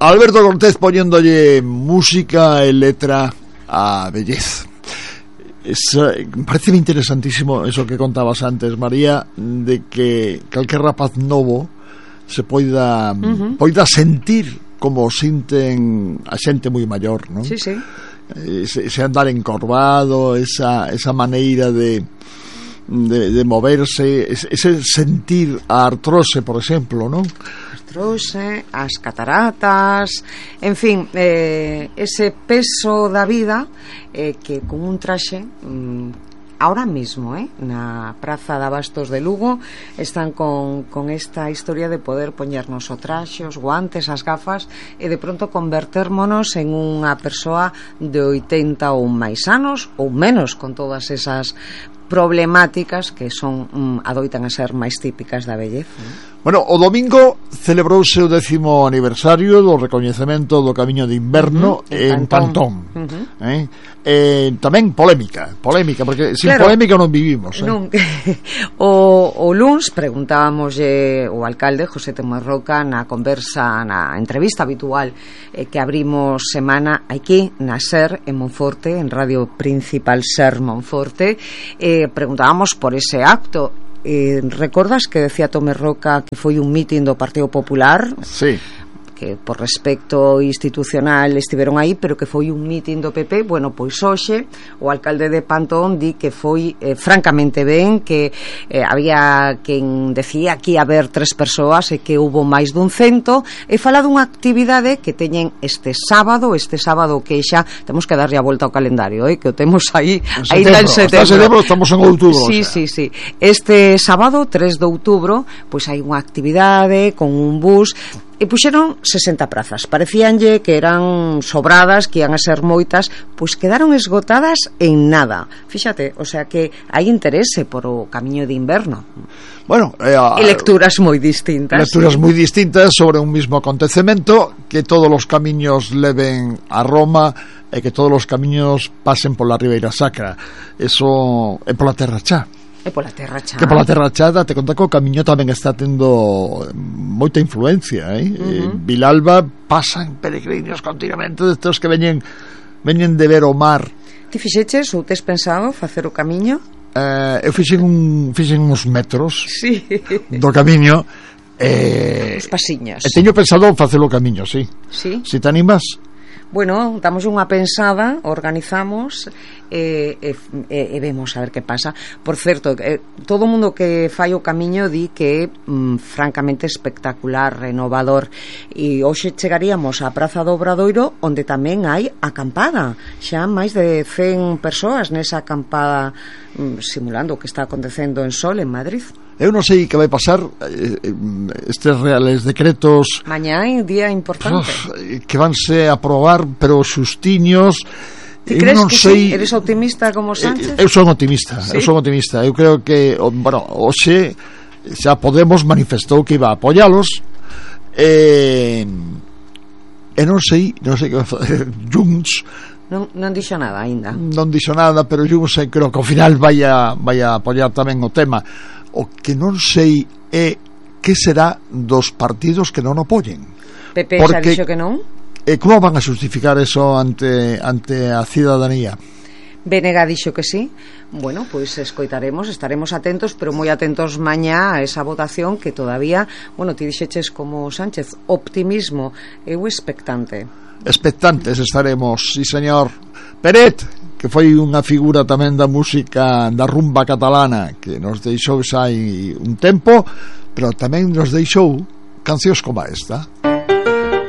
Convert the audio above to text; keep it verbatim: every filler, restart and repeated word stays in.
Alberto Cortés poniéndolle música e letra a Vellez. Es, me parece interesantísimo eso que contabas antes, María, de que calquer rapaz novo se poida uh-huh. poida sentir como sinten a xente moi maior, non? Sí, sí. Ese, ese andar encorvado, esa, esa maneira de, de, de moverse, ese, ese sentir a artrose, por exemplo, non? Artrose, as cataratas, en fin, eh, ese peso da vida eh, que con un traxe mmm, ahora mismo, eh, na Praza de Abastos de Lugo están con, con esta historia de poder poñernos o traxe, os guantes, as gafas e de pronto convertérmonos en unha persoa de oitenta ou máis anos ou menos, con todas esas problemáticas que son mm, adoitan a ser máis típicas da vellez, ¿no? Bueno, o domingo celebrouse o décimo aniversario do recoñecemento do Camiño de Inverno uh-huh, en Pantón, Pantón. Uh-huh. eh? Eh, tamén polémica polémica, porque sin claro, polémica non vivimos, eh? non. o, o luns preguntábamos eh, o alcalde José Tomás Roca na conversa, na entrevista habitual eh, que abrimos semana aquí na SER en Monforte, en Radio Principal SER Monforte, eh, preguntábamos por ese acto. Eh, recordas que decía Tomé Roca que foi un mitin do Partido Popular? Sí. Que por respecto institucional estiveron aí, pero que foi un mitin do P P. Bueno, pois hoxe o alcalde de Pantón di que foi eh, francamente ben, que eh, había quen decía que ia haber tres persoas e que hubo máis dun cento, e fala dunha actividade que teñen este sábado, este sábado que xa temos que darlle a volta ao calendario, eh, que o temos aí aí en setembro. setembro, estamos en outubro. Sí, sí, sí. Este sábado, tres de outubro, pois hai unha actividade con un bus. E puxeron sesenta prazas. Parecíanlle que eran sobradas, que ian a ser moitas, pois quedaron esgotadas en nada. Fíxate, o sea que hai interese por o Camiño de Inverno. Bueno, eh, e lecturas moi distintas. Lecturas moi distintas sobre un mismo acontecemento, que todos os camiños leven a Roma e que todos os camiños pasen pola Ribeira Sacra. Eso é pola Terra Chá. E pola Terra Chá. Que pola Terra Chá, te conta que o camiño tamén está tendo moita influencia, eh? Uh-huh. Vilalba pasan peregrinos continuamente destes que veñen veñen de ver o mar. Ti fixeches ou tes pensado facer o camiño? Eh, eu fixen un fixen uns metros sí. do camiño e os pasiños. E teño pensado facer o camiño, sí. Sí. Si te animas? Bueno, damos unha pensada, organizamos e, e, e vemos a ver que pasa. Por certo, eh, todo o mundo que fai o camiño di que é mm, francamente espectacular, renovador, e hoxe chegaríamos á Praza do Obradoiro, onde tamén hai acampada, xa máis de cen persoas nesa acampada, mm, simulando o que está acontecendo en Sol, en Madrid. Eu non sei que vai pasar, eh, estes reales decretos mañá é un día importante, uf, que vanse a aprobar, pero xustiños. Ti crees que sei, sí? Eres optimista como Sánchez? Eu son optimista, ¿sí? eu son optimista. Eu creo que, bueno, hoxe xa Podemos manifestou que iba a apoialos, e, e non sei, non sei que vai facer Junts. Non, non dixo nada aínda. Non dixo nada, pero Junts creo que ao final vai a, vai a apoiar tamén o tema. O que non sei é que será dos partidos que non apoyen. P P xa dixo que non? E como van a justificar eso ante, ante a cidadanía? B N G dixo que sí. Bueno, pois pues escoitaremos, estaremos atentos, pero moi atentos mañá a esa votación que todavía, bueno, ti dixeches como Sánchez, optimismo, eu expectante. Expectantes estaremos, sí señor. Peret, que foi unha figura tamén da música da rumba catalana, que nos deixou xa hai un tempo, pero tamén nos deixou cancións como esta.